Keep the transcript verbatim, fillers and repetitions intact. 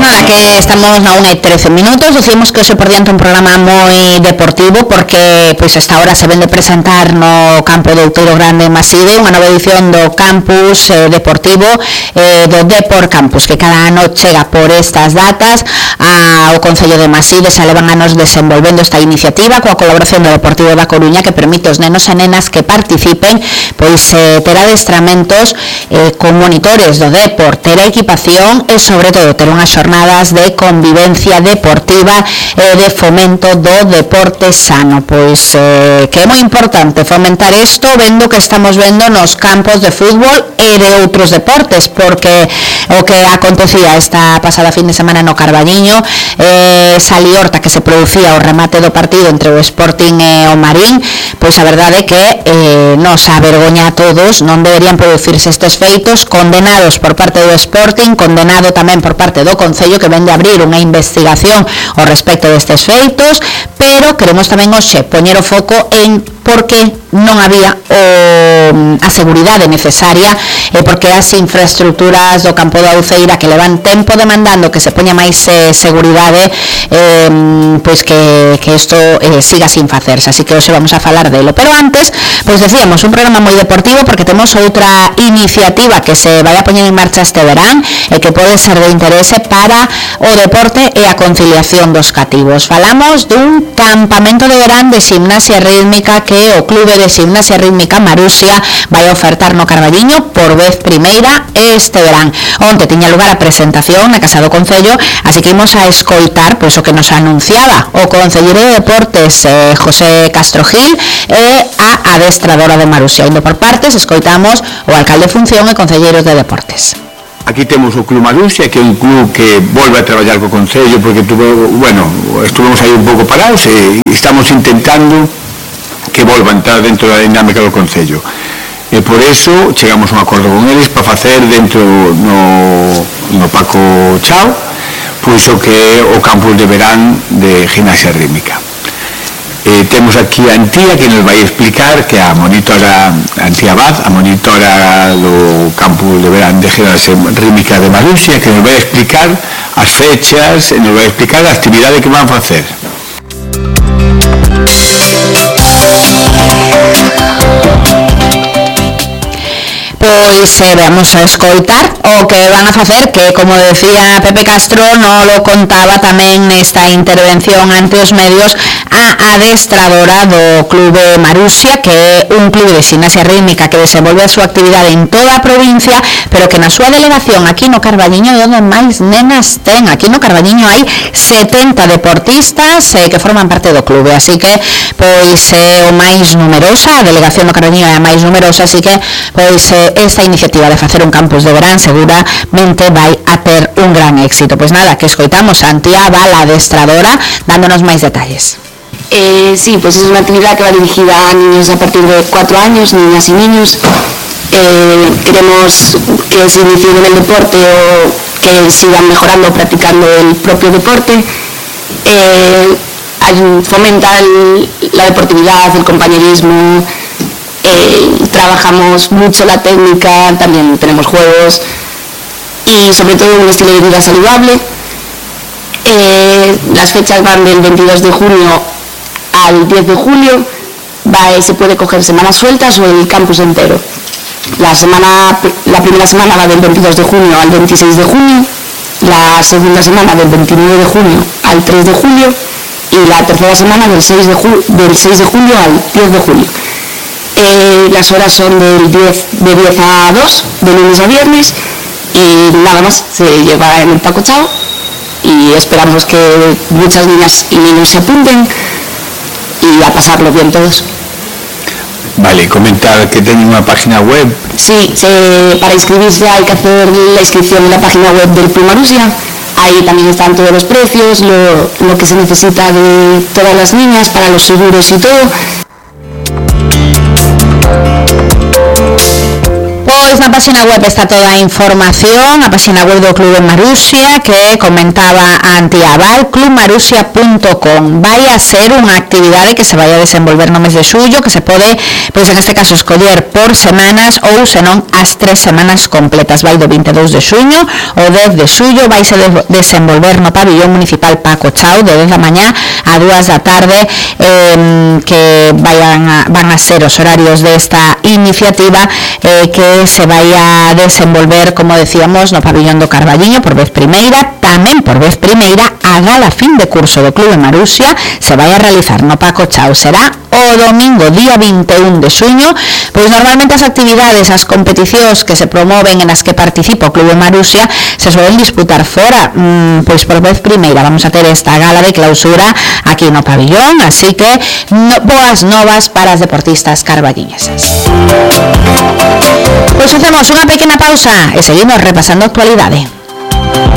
nada, que estamos na unha e trece minutos. Decimos que hoxe por diante un programa moi deportivo, porque pois esta hora se ven de presentar no campo do Outeiro Grande en Maside unha nova edición do campus eh, deportivo eh, do Depor Campus, que cada ano chega por estas datas ao Concello de Maside. Se levan anos desenvolvendo esta iniciativa coa colaboración do Deportivo da Coruña, que permite aos nenos e nenas que participen pois eh, ter adestramentos eh, con monitores do Depor, ter a equipación e sobre todo ter unhas xornadas de convivencia deportiva e de fomento do deporte sano. Pois eh, que é moi importante fomentar isto, vendo que estamos vendo nos campos de fútbol e de outros deportes, porque o que acontecía esta pasada fin de semana no Carballiño, eh, esa liorta que se producía ao remate do partido entre o Sporting e o Marín, pois a verdade é que eh, nos avergoña a todos. Non deberían producirse estes feitos, condenados por parte do Sporting, condenado tamén por parte do Concello, que vende a abrir unha investigación ao respecto destes feitos, pero queremos tamén hoxe poñer o foco en porque non había o, a seguridade necesaria e porque as infraestructuras do campo da Uceira, que levan tempo demandando que se poña máis eh, seguridade, eh, pois que, que isto eh, siga sin facerse. Así que hoxe vamos a falar delo, pero antes, pois decíamos, un programa moi deportivo, porque temos outra iniciativa que se vai a poñer en marcha este verán e que pode ser de interese para o deporte e a conciliación dos cativos. Falamos dun campamento de verán de gimnasia rítmica que o Clube de Gimnasia Rítmica Marusia vai ofertar no Carballiño por vez primeira este verán. Onte tiña lugar a presentación na Casa do Concello, así que imos a escoitar pois o que nos anunciaba o concelleiro de Deportes eh, José Castro Gil e a adestradora de Marusia. Indo por partes, escoitamos o alcalde de función e concelleiros de Deportes. Aquí temos o Club Marusia, que é un club que volve a traballar co Concello, porque tuvo, bueno, estuvemos aí un pouco parados e estamos intentando que volva a entrar dentro da dinámica do Concello. E por eso chegamos a un acordo con eles para facer dentro no, no Paco Chao pois o que é o campus de verán de gimnasia rítmica. E temos aquí a Antía, que nos vai explicar, que é a monitora Antía Abad, a monitora do campus de verán de gimnasia rítmica de Marusia, que nos vai explicar as fechas e nos vai explicar a actividade que van a facer. Pois eh, vamos a escoitar o que van a facer, que como decía Pepe Castro, non lo contaba tamén nesta intervención ante os medios, a adestradora do Clube Marusia, que é un clube de gimnasia rítmica que desenvolve a súa actividade en toda a provincia, pero que na súa delegación aquí no Carballiño é onde máis nenas ten. Aquí no Carballiño hai setenta deportistas eh, que forman parte do clube, así que pois é o máis numerosa, a delegación do Carballiño é a máis numerosa, así que pois eh, esta iniciativa de facer un campus de verán seguramente vai a ter un gran éxito. Pois nada, que escoitamos a Antía Abad, a adestradora, dándonos máis detalles. Eh, sí, pues es una actividad que va dirigida a niños a partir de cuatro años, niñas y niños. Eh, queremos que se inicien en el deporte o que sigan mejorando, practicando el propio deporte. Eh, fomenta el, la deportividad, el compañerismo. Eh, trabajamos mucho la técnica, también tenemos juegos y sobre todo un estilo de vida saludable. Eh, las fechas van del veintidós de junio al diez de julio, va, se puede coger semanas sueltas o el campus entero. La, semana, la primera semana va del veintidós de junio al veintiséis de junio, la segunda semana del veintinueve de junio al tres de julio y la tercera semana del seis de, ju del seis de julio al diez de julio. Eh, las horas son del diez, de diez a dos, de lunes a viernes, y nada más, se lleva en el Paco Chao y esperamos que muchas niñas y niños se apunten y a pasarlo bien todos. Vale, comentar que tienen una página web. Sí, se, para inscribirse hay que hacer la inscripción en la página web del Club Marusia. Ahí también están todos los precios, lo, lo que se necesita de todas las niñas para los seguros y todo. Pois na página web está toda a información, a página web do Club de Marusia que comentaba Antiaval, club marusia punto com. Vai a ser unha actividade que se vai a desenvolver no mes de xullo, que se pode, pois en este caso, escoller por semanas ou senón as tres semanas completas. Vai do vinte e dous de xuño ao dez de xullo, vai se de desenvolver no pabillón municipal Paco Chao de dez da mañá a dúas da tarde, eh, que vayan a, van a ser os horarios desta iniciativa, eh, que se vai a desenvolver, como decíamos, no pabillón do Carballiño por vez primeira. Tamén por vez primeira a gala fin de curso do Club de Marusia se vai a realizar no Paco Chao. Será o domingo, día vinte e un de xuño. Pois normalmente as actividades, as competicións que se promoven en as que participa o Club de Marusia se suelen disputar fora. Mm, pois por vez primeira vamos a ter esta gala de clausura aquí no pabillón, así que no, boas novas para as deportistas carballiñesas. Pois facemos unha pequena pausa e seguimos repasando a actualidade.